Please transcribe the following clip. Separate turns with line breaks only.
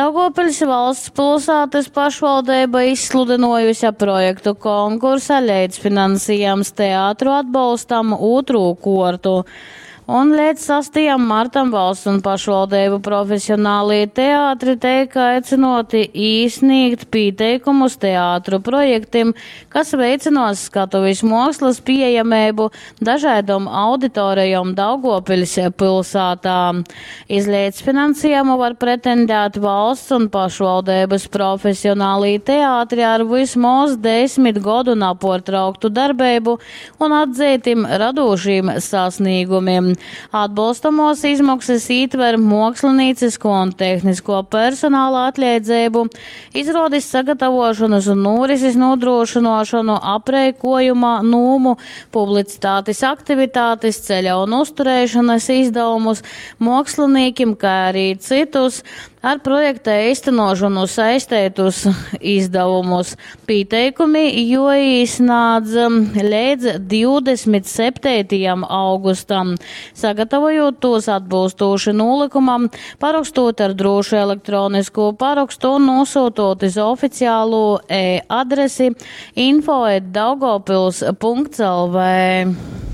Daugovpiļs valsts pilsātys pašvaldeiba izsludynuojuse projektu konkursa leidzfinansiejums teatru atbolstam ūtrū kuortu. Un leidz 6. martam valsts un pašvaldeibu profesionālī teātri teik aicynuoti īsnīgt pīteikumus teātru projektim, kas veicynuos skatuvis muokslys pīejameibu dažaidom auditorejom Daugovpiļs pylsātā. Iz leidzfinansiejumu var pretendēt valsts un pašvaldeibys profesionālī teātri ar vysmoz desmit godu napuortrauktu darbeibu un atzeitim radūšim sasnīgumim. Atbolstamuos izmoksys ītver muokslinīcyskuo un tehniskuo personala atleidzeibu, izruodis sagatavuošonys un nūrisis nūdrūšynuošonu, apreikuojuma nūmu, publicitatis aktivitatis, ceļa un uztureišonys izdavumus muokslinīkim, kai ari cytus ar projekta eistynuošonu saisteitus izdavumus. Pīteikumi juoīsnādz leidz 27. augustam, sagatavojūt tūs atbylstūši nūlykumam, parokstūt ar drūšu elektroniskū parokstu un nūsyutūt iz oficiālū e-adresi info@daugavpils.lv.